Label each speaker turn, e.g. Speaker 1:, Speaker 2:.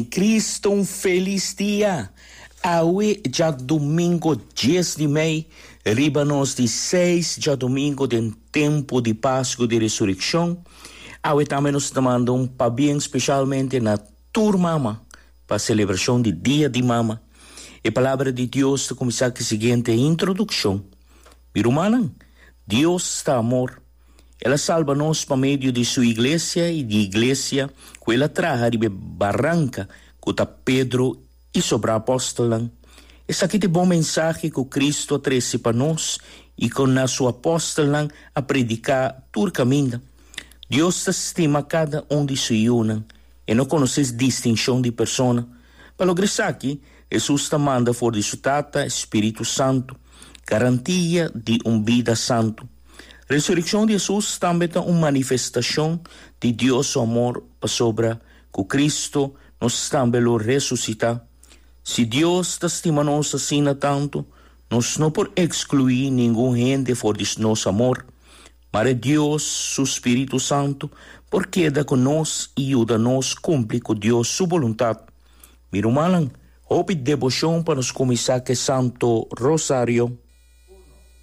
Speaker 1: Cristo un felis dia! Awe djadumingo dies di mei, riba nos di seis djadumingo den tempu di Pasku di Resurekshon. Awe tambe nos ta manda un pabien speshalmente na tur mama pa selebrashon di Dia di Mama. E Palabra di Dios ta kuminsá ku e siguiente introdukshon, Mi rumannan, Dios ta amor. El a salba nos pa medio di su iglesia i di iglesia ku el a traha riba e baranka ku ta Pedro i sobrá apòstelnan. Esaki ta e bon mensahe ku Kristu a trese pa nos i ku na su apòstelnan a prediká tur kaminda. Dios ta stima kada un di su yunan. E no konosé distinshon di persona. Pa logra esaki, Hesus ta manda for di su Tata e spiritu santu, garantia di un bida santu. Resurekshon di Hesus tambe ta un manifestashon di Dios su amor pasobra ku Kristu nos tambe lo resusitá. Si Dios ta stima nos asina tantu, nos no por ekskluí ningun hende for di nos amor. Mare Dios su spiritu santu por keda ku nos i yuda nos kumpli ku Dios su boluntat. Mi rumannan, hopi deboshon pa nos kuminsá ku e Santo Rosario.